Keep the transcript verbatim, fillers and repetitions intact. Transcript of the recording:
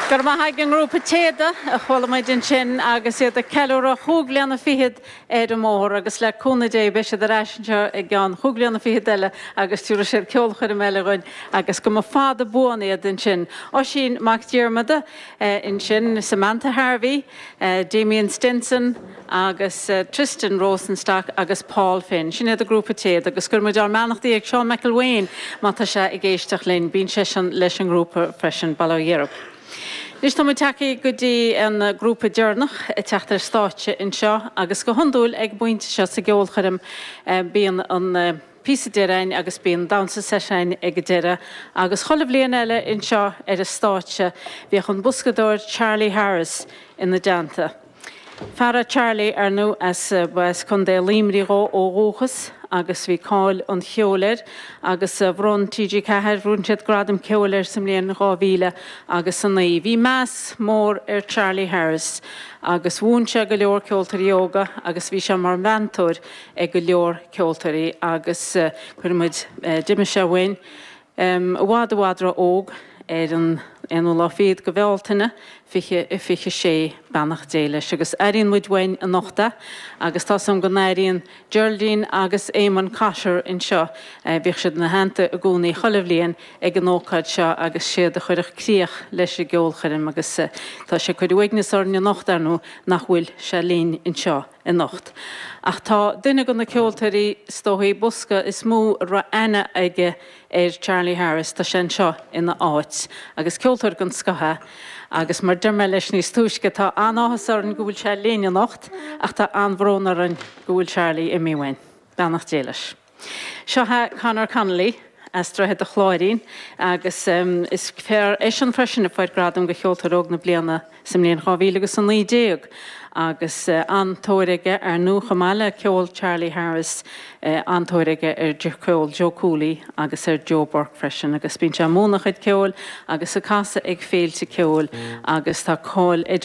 Go raibh maith ag an ngrúpa Téada a chuala muid ansin agus iad ag ceiliúradh chúig bliana fichead ar an mbóthar agus le cúnamh Dé beidh siad ar ais anseo i gceann chúig bliana fichead eile agus tabharfaidh siad ceolchoirm eile dhúinn agus go mba fada buan iad ansin. Oisín Mac Diarmada ansin, Samantha Harvey, Damien Stinson agus Tristan Rosenstock agus Paul Finn. Sin iad an grúpa Téada agus cuireann muid ár mbeannachtaí ag Seán McElwain má tá sé ag éisteacht linn, bíonn seisean leis an ngrúpa freisin Bail ó Dhia orthu. Anois tá muid tagtha go dtí an grúpa deireanach ag teacht ar stáitse anseo agus go hiondúil ag an bpointe seo sa gceolchoirm bíonn an píosa deiridh agus bíonn damhsa seisiúin ag an deireadh agus chuile bhliain eile anseo ar an stáitse bhíodh an boscadóir Charlie Harris ina dteannta. Fear é Charlie ar ndóigh as as Contae Luimnigh dhó ó dhúchas agus bhí cáil an cheoil air agus bhronn TG Ceathair bhronn siad gradam ceoil air sa mbliain dhá mhíle agus a naoi. Bhí meas mór ar Charlie Harris agus mhúin sé go leor ceoltóirí óga agus bhí sé mar mheantóir ag go leor ceoltóirí agus cuireann muid d'imigh sé uainn i bhfad i bhfad ró-óg ar an aonú lá fichead de Bhealtaine fiche a fiche sé beannacht Dé leis agus airíonn muid uainn anocht é agus tá 's agam go n-airíonn Geraldine agus Eamon Cotter anseo bhíodh siad ina theannta i gcónaí chuile bhliain ag an ócáid seo agus siad a chuirfeadh críoch leis an gceolchoirm agus tá sé ag cur uaigneas orainn anocht ar ndóigh nach bhfuil sé linn anseo anocht. Ach tá duine de na ceoltóirí is dóichí bosca is mó a raibh aithne aige ar Charlie Harris, tá sé anseo ina áit agus ceoltóir den scoth é agus mar deir mé leis níos túisce tá an-áthas orainn go bhfuil sé linn anocht ach tá an-bhrón orainn go bhfuil Charlie imithe uainn. Beannacht Dé leis. Seo é Conor Connolly as Droichead a' Chláirín agus um, is fear eisean freisin a fuair gradam do cheoltóir óg na bliana sa mbliain dhá mhíle agus a naoi déag agus uh, an-tóir aige ar ndóigh chomh maith le ceol Charlie Harris uh, an-tóir aige ar ceol Joe Cooley agus ar Joe Burke freisin agus bíonn sé ag múineadh a chuid ceoil agus ag casadh ag féilte ceoil agus tá cáil idir